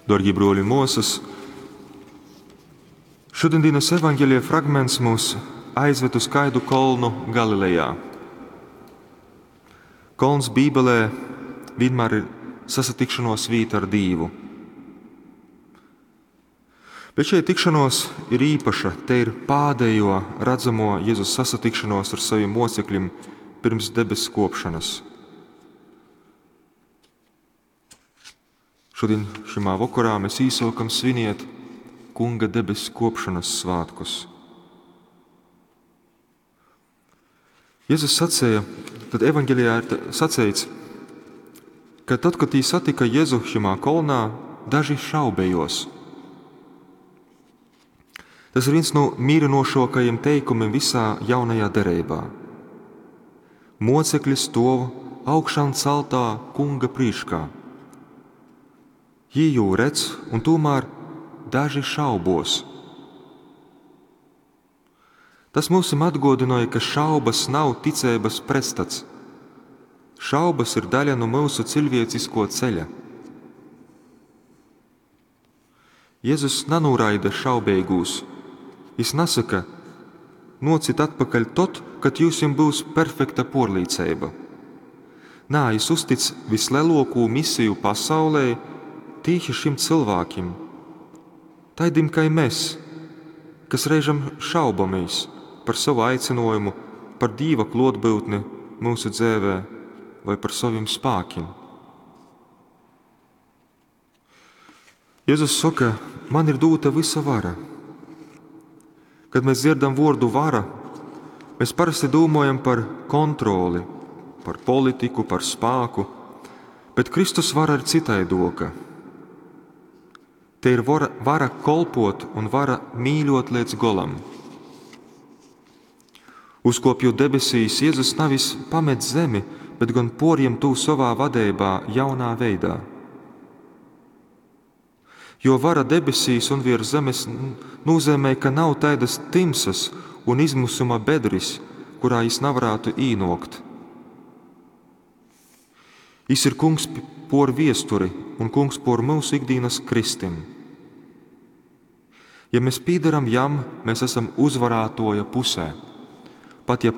Darbie bruoli un muosas, šodienas evaņģēlija fragments mūs aizved uz kaidu kolnu Galilejā. Kolns Bībelē vienmēr ir sasatikšanos vīta ar Dīvu. Bet šeit tikšanos ir īpaša. Te ir pādējo redzamo Jēzus sasatikšanos ar saviem mocekļiem pirms debesu kopšanas. Šodien šimā vokorā mēs īsākam sviniet Kunga debesu kopšanas svētkus. Jēzus sacēja, tad evaņģelijā ir sacīts, ka tad, kad tī satika Jēzu šimā kolnā, daži šaubējos. Tas ir viens no mīrinošākajiem teikumiem visā jaunajā derībā. Mocekļi stov augšām celtā kunga prīškā. Jī jū redz, un tomēr daži šaubos. Tas mums atgādināja, ka šaubas nav ticības pretstats. Šaubas ir daļa no mūsu cilvēcisko ceļa. Jēzus nenoraida šaubīgūs. Viņš nesaka, nocit atpakaļ tot, kad jūsim būs perfekta porlīceiba. Nā, jis uztic vislielāko misiju pasaulē tīši šim cilvēkim, taidim kā mēs, kas reizēm šaubamies par savu aicinājumu, par Dieva klotbūtni mūsu dzīvē vai par saviem spēkiem. Jēzus saka, man ir dota visa vara. Kad mēs dzirdam vārdu vara, mēs parasti domājam par kontroli, par politiku, par spēku, bet Kristus vara ir citaidoka. Te ir vara, vara kolpot un vara mīļot līdz golam. Uzkopjot debesīs, Jēzus nevis pamet zemi, bet gan poriem tū savā vadībā jaunā veidā. Jo vara debesīs un virs zemes nozīmē, ka nav taidas timsas un izmisuma bedris, kurā jis nevarētu īnokt. Jis ir kungs por viesturi un kungs por mūsu ikdienas kristim. Ja mēs pīdaram jam, mēs esam uzvarētoja pusē. Pat ja